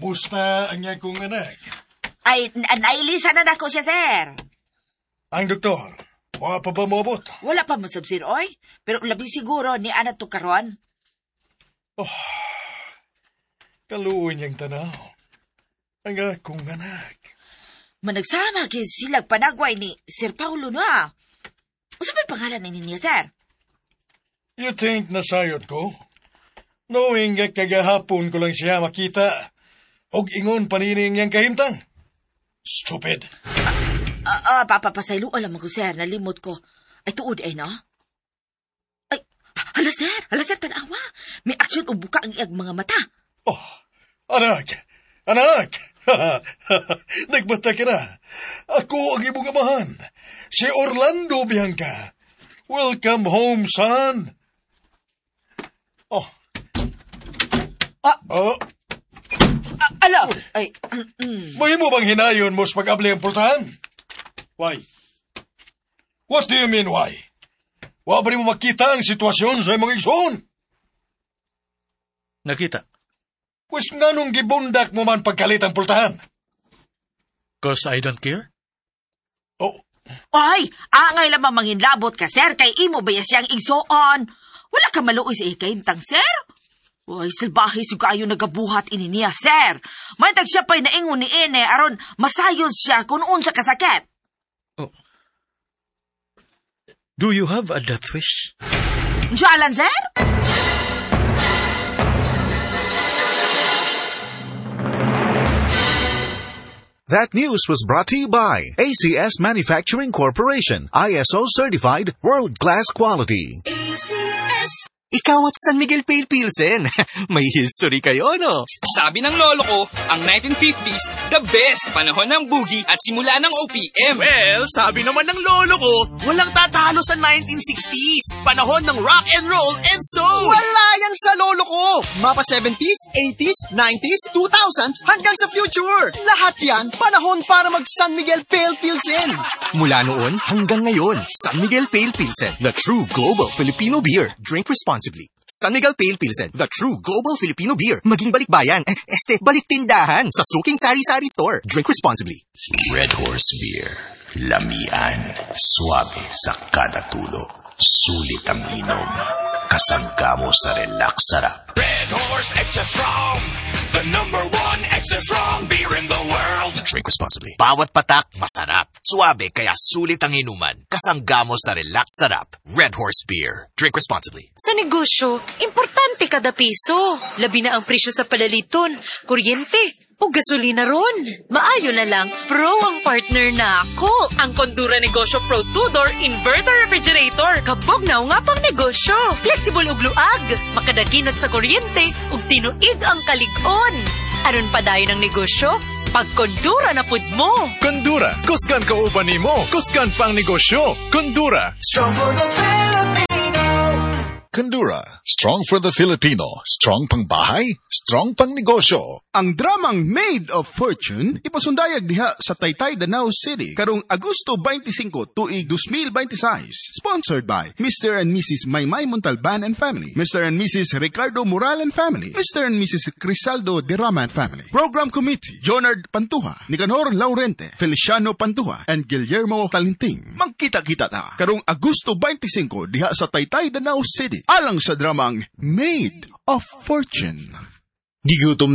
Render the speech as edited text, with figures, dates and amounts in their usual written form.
Kamusta ang akong anak? Ay, nailisa na nako siya, sir. Ang doktor, wa pa ba moabot? Wala pa mo sab, sir, oy. Pero labi siguro ni ana to karon. Kaluoy niyang tanaw. Ang akong anak. Managsama kay silag panagway ni Sir Paulo na. Unsa may pangalan ni niya, sir? You think nasayod ko? Knowing nga kagahapon ko lang siya makita, og ingon panining niyang kahimtang. Stupid. Papapasaylo, alam ko, sir, nalimot ko. Ay, tuod ay, no? Ay, hala, sir, hala, sir, tanawa. May aksyon o buka ang iyang mga mata. Oh, anak! Anak! Nagbata ka na. Ako ang imong amahan. Si Orlando Bianca. Welcome home, son. Oh. Ah. Oh, Ala, ay, mahimo bang hinayon mo sa pag-abli ang pultahan? Why? What do you mean, why? Wa ba mo makita ang sitwasyon sa imong igsoon? Nakita. Pwes nganong gibundak mo man pagkalit ang pultahan? 'Cause I don't care? Oh, Ay, angay lamang manginlabot ka, sir, kay imo ba siyang igsoon? Wala ka maluoy sa ikahimtang, sir? Uy, salbahe su kaayo nagabuhat ini niya, sir. Mantag siya pa'y naingon ni Ene aron masayod siya kung unsa kasakit. Oh. Do you have a death wish? Jalan, sir? That news was brought to you by ACS Manufacturing Corporation, ISO certified, world-class quality. ACS. Ikaw at San Miguel Pale Pilsen. May history kayo, no? Sabi ng lolo ko, ang 1950s, the best panahon ng boogie at simula ng OPM. Well, sabi naman ng lolo ko, walang tatalo sa 1960s. Panahon ng rock and roll and soul. Wala yan sa lolo ko! Mapa 70s, 80s, 90s, 2000s, hanggang sa future. Lahat yan, panahon para mag San Miguel Pale Pilsen. Mula noon hanggang ngayon, San Miguel Pale Pilsen, the true global Filipino beer. Drink responsibly. San Miguel Pale Pilsen, the true global Filipino beer. Maging balikbayan, este, baliktindahan sa suking sari-sari store. Drink responsibly. Red Horse Beer. Lamian. Suabe sa kada tulo. Sulit ang inom. Kasangga mo sa relax sarap. Red Horse Extra Strong. The number one extra strong beer in the world. Drink responsibly. Bawat patak, masarap. Suabe kaya sulit ang inuman. Kasangga mo sa relax sarap. Red Horse Beer. Drink responsibly. Sa negosyo, importante kada piso. Labi na ang presyo sa palaliton, kuryente, o gasolina ron. Maayo na lang, pro ang partner na ako. Ang Condura Negosyo Pro 2-Door Inverter Refrigerator. Kabog na nga pang negosyo. Flexible ug luag. Makadaginot sa kuryente ug tinuig ang kalig-on. Aron padayon ang negosyo, pag Condura na pud mo. Condura, kusgan kauban nimo, kusgan pang negosyo. Condura. Strong for the Filipino. Condura, strong for the Filipino, strong pang bahay, strong pang negosyo. Ang dramang Maid of Fortune ipasundayag diha sa Taytay, Danao City karong Agosto 25 tuig 2026. Sponsored by Mr. and Mrs. Maymay Montalban and Family, Mr. and Mrs. Ricardo Moral and Family, Mr. and Mrs. Crisaldo Derama and Family. Program Committee, Jonard Pantuha, Nicanor Laurente, Feliciano Pantuha, and Guillermo Talinting. Magkita-kita ta karong Agosto 25 diha sa Taytay, Danao City alang sa dramang Maid of Fortune. Gigutom